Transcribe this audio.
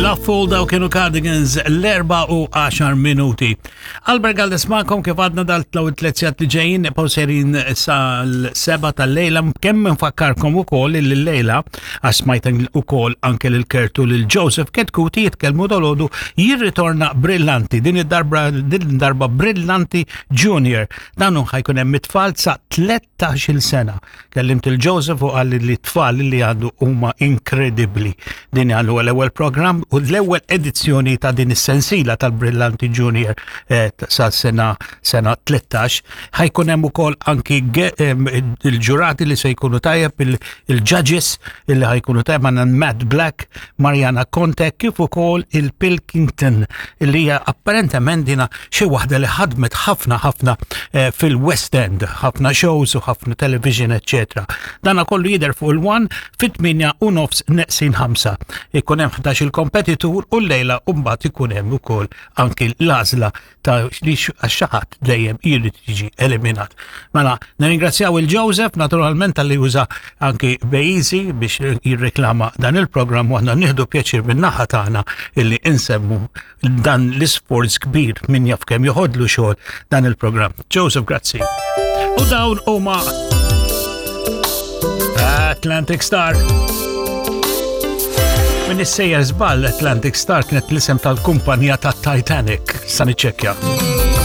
Love daw kienu Cardigans l-4 u 10 minuti. Albert Galdes ma'kom kif għadna dal-tlaw it-tletzjat li ġejjin nibqgħu serin sal-seba tal-lejla kemm nfakkarkom ukoll li l-lejla għax smajt ukoll anke lil Kertu lil Joseph Ketkuti jitkellmu dolodu jirritorna Brillanti din id-darba din darba Brillanti Junior. Dan hu ħajkun hemm it-tfal sa 13-il sena. Kellimt il-Joseph u qalli li t-tfal li għandu huma inkredibbli. Din għal huwa l-ewwel programm u l-ewwel edizzjoni ta' din is-sensila tal-Brillanti Junior eh, sa sena sena 13. Ħajkun hemm ukoll anki il-ġurati li se jkunu tajjeb il-judges illi ħajkunu tajjeb għandna Matt Black, Mariana Conte kif ukoll il-Pilkington li hija apparentement dina xi waħda li ħadmet ħafna ħafna eh, fil-West End, ħafna shows u ħafna television, eccetera. Dana kollu jidher fuq il-one fit-8 u nofs neqsin 5. Ikun hemm 11 il-kompetitur u l-lejla u mbagħad ikun hemm ukoll anki l-għażla ta' li għax dejjem jrid jiġi eliminat. Mela, nirringrazzjaw il-Joseph naturalment tal-li uża anki Bejzi biex jirreklama dan il-programm u aħna nieħdu pjaċir min-naħa tagħna illi insemmu dan l-isforz kbir min jaf kemm joħodlu xogħol dan il-programm. Joseph, grazzi. U dawn huma Atlantic Star. Min issejjer żball Atlantic Star kienet l-isem tal-kumpanija ta' Titanic. Sa niċċekkja.